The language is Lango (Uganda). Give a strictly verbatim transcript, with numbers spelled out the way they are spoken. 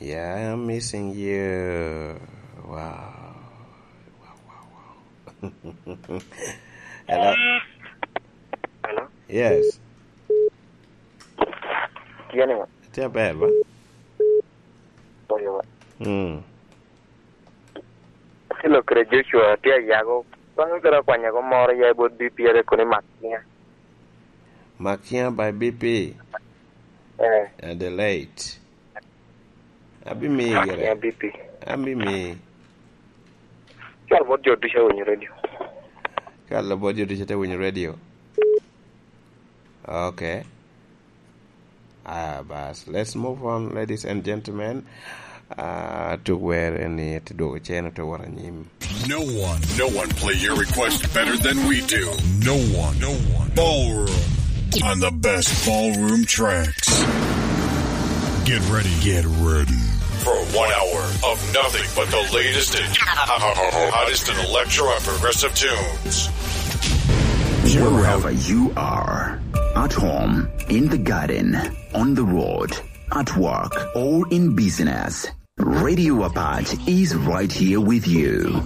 Yeah, I'm missing you. Wow. Wow, wow, wow. Hello? Hello? Yes. Tye ni ma? Tye aber, ba? Oyo. Mm. Silo kede Joshua tye ayago. Bang' kede akwanyago moro ya i bot B P R kono i Makia. Makia by B P. Eh. Adelaide. Abimiyi gire. Makia B P. Abimiyi. Cal bot jo ducu awinyo radio. Cal bot jo ducu te winyo radio. Okay. Ah, bas. Let's move on, ladies and gentlemen. Ah, tuk wer eni te dwogo cen ote wot anyim. No one, no one play your request better than we do. No one, no one. Ballroom on the best ballroom tracks. Get ready, get ready for one hour of nothing but the latest and hottest in electro and progressive tunes. Wherever you are, at home, in the garden, on the road, at work, or in business, Radio Apache is right here with you.